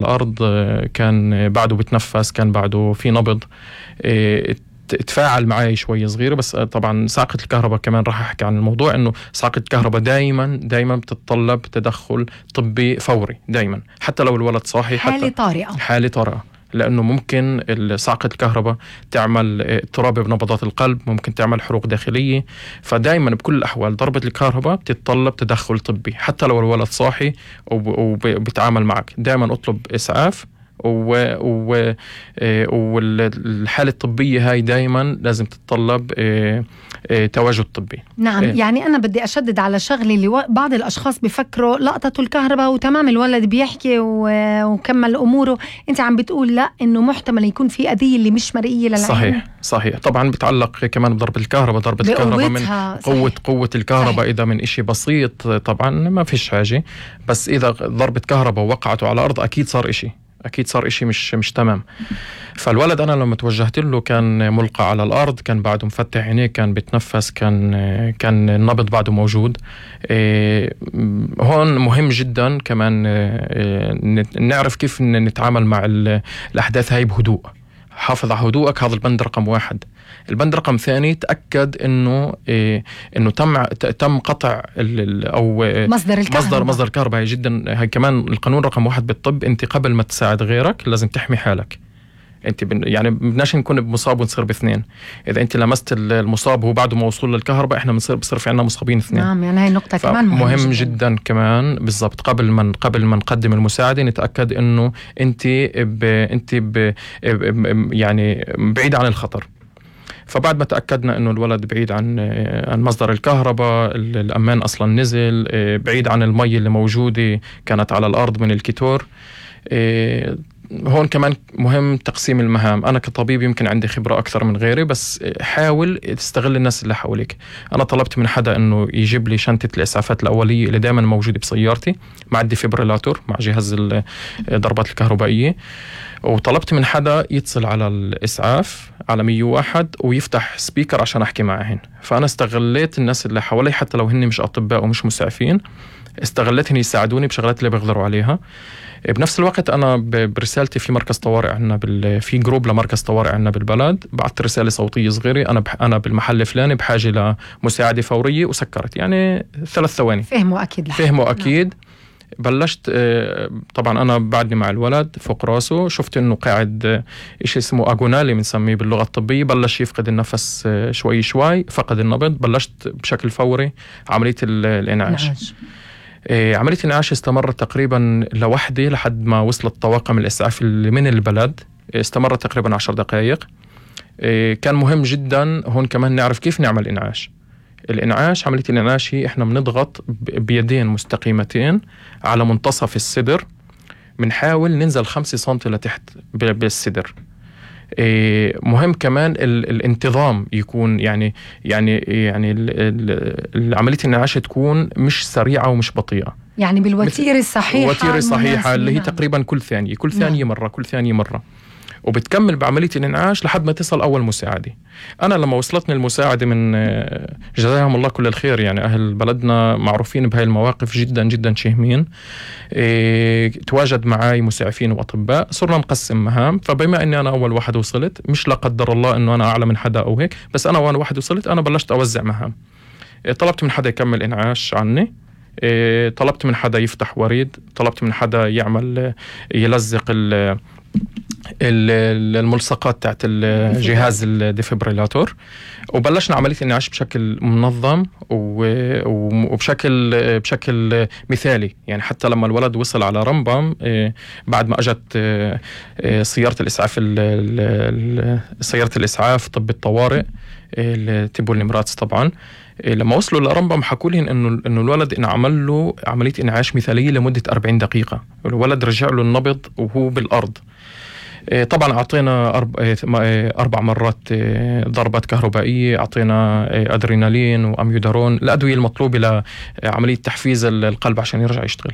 الأرض كان بعده بتنفس، كان بعده في نبض. تفاعل معي شوي صغيرة. بس طبعا صاعقة الكهرباء كمان راح أحكي عن الموضوع، إنه صاعقة الكهرباء دايما بتتطلب تدخل طبي فوري دايما، حتى لو الولد صاحي، حالة طارئة، لأنه ممكن صاعقة الكهرباء تعمل اضطراب بنبضات القلب، ممكن تعمل حروق داخلية. فدايما بكل الأحوال ضربة الكهرباء بتتطلب تدخل طبي، حتى لو الولد صاحي وبيتعامل معك. دايما اطلب إسعاف، والحالة الطبية هاي دايما لازم تتطلب تواجد طبي. نعم. يعني أنا بدي أشدد على شغلي اللي بعض الأشخاص بيفكروا لقطة الكهرباء وتمام الولد بيحكي وكمل أموره. أنت عم بتقول لا، إنه محتمل يكون في أذية اللي مش مرئية للعين. صحيح. طبعا بتعلق كمان بضربة الكهرباء. ضربة الكهرباء من قوة الكهرباء. صحيح. إذا من إشي بسيط طبعا ما فيش حاجة، بس إذا ضربة كهرباء وقعته على الأرض أكيد صار إشي مش تمام. فالولد أنا لما توجهت له كان ملقى على الأرض، كان بعده مفتح عينيه، كان بتنفس، كان النبض بعده موجود. هون مهم جدا كمان نعرف كيف نتعامل مع الأحداث هاي بهدوء. حافظ على هدوءك، هذا البند رقم 1. البند رقم 2، تأكد إنه تم قطع أو مصدر الكهرباء. هي جدا، هي كمان القانون رقم 1 بالطب. أنت قبل ما تساعد غيرك لازم تحمي حالك. أنت يعني بدناش نكون بمصاب ونصير ب2. إذا أنت لمست المصاب وهو بعده ما وصول للكهرباء، إحنا بصير في عنا مصابين 2. نعم. يعني هاي النقطة كمان مهم جدا كمان. بالضبط. قبل ما نقدم المساعدة نتأكد إنه أنت يعني بعيد عن الخطر. فبعد ما تأكدنا إنه الولد بعيد عن مصدر الكهرباء، الأمان أصلا نزل، بعيد عن المي اللي موجودة كانت على الأرض من الكيتور. هون كمان مهم تقسيم المهام. أنا كطبيب يمكن عندي خبرة أكثر من غيري، بس حاول تستغل الناس اللي حولك. أنا طلبت من حدا إنه يجيب لي شنطة الإسعافات الأولية اللي دائما موجودة بسيارتي، مع ديفيبريلاتور، مع جهاز الضربات الكهربائية. وطلبت من حدا يتصل على الإسعاف على 101 ويفتح سبيكر عشان أحكي معهن. فأنا استغليت الناس اللي حوالي، حتى لو هن مش أطباء ومش مسعفين، استغلتهم يساعدوني بشغلات اللي بيقدروا عليها. بنفس الوقت أنا برسالتي في مركز طوارئ عنا في جروب لمركز طوارئ عنا بالبلد، بعت رسالة صوتية صغيرة: أنا بالمحل فلاني بحاجة لمساعدة فورية، وسكرت يعني 3 ثواني. فهموا أكيد. بلشت طبعا أنا بعدني مع الولد فوق راسه، شفت إنه قاعد إشي اسمه أغونالي بنسميه باللغة الطبية، بلش يفقد النفس شوي، فقد النبض. بلشت بشكل فوري عملية الإنعاش. عملية الإنعاش استمرت تقريبا لوحدي لحد ما وصلت طواقم الإسعاف اللي من البلد. استمرت تقريبا 10 دقائق. كان مهم جدا هون كمان نعرف كيف نعمل إنعاش. عملية الإنعاش هي إحنا بنضغط بيدين مستقيمتين على منتصف الصدر، بنحاول ننزل 5 سنتي لتحت بالصدر. مهم كمان الانتظام يكون يعني عملية الإنعاش تكون مش سريعة ومش بطيئة، يعني بالوتيرة الصحيحة اللي هي تقريبا كل ثانية مرة. وبتكمل بعملية الإنعاش لحد ما تصل أول مساعدة. أنا لما وصلتني المساعدة من جزاهم الله كل الخير، يعني أهل بلدنا معروفين بهاي المواقف، جدا جدا شهمين. تواجد معاي مسعفين وأطباء، صرنا نقسم مهام. فبما أني أنا أول واحد وصلت، مش لا قدر الله أنه أنا أعلى من حدا أو هيك، بس أنا أول واحد وصلت أنا بلشت أوزع مهام. طلبت من حدا يكمل إنعاش عني، طلبت من حدا يفتح وريد، طلبت من حدا يلزق الملصقات تاعت الجهاز الديفيبريلاتور. وبلشنا عملية الإنعاش بشكل منظم وبشكل مثالي. يعني حتى لما الولد وصل على رمبم، بعد ما أجت سيارة الإسعاف طب الطوارئ التيبو الإماراتس طبعا، لما وصلوا لرمبم حكوا لي إنه الولد انعمل له عملية إنعاش مثالية لمدة 40 دقيقة. الولد رجع له النبض وهو بالأرض. طبعا أعطينا 4 مرات ضربات كهربائية، أعطينا أدرينالين وأميودارون، الأدوية المطلوبة لعملية تحفيز القلب عشان يرجع يشتغل.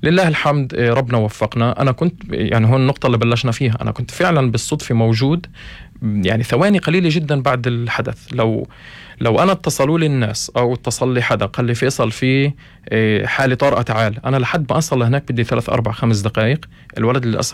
لله الحمد ربنا وفقنا. أنا كنت يعني هون النقطة اللي بلشنا فيها، أنا كنت فعلا بالصدفة موجود يعني ثواني قليلة جدا بعد الحدث. لو أنا اتصلوا لي الناس أو اتصل لي حدا قال لي فيصل في حالة طارئة تعال، أنا لحد ما أصل هناك بدي 3 4 5 دقائق. الولد للأسف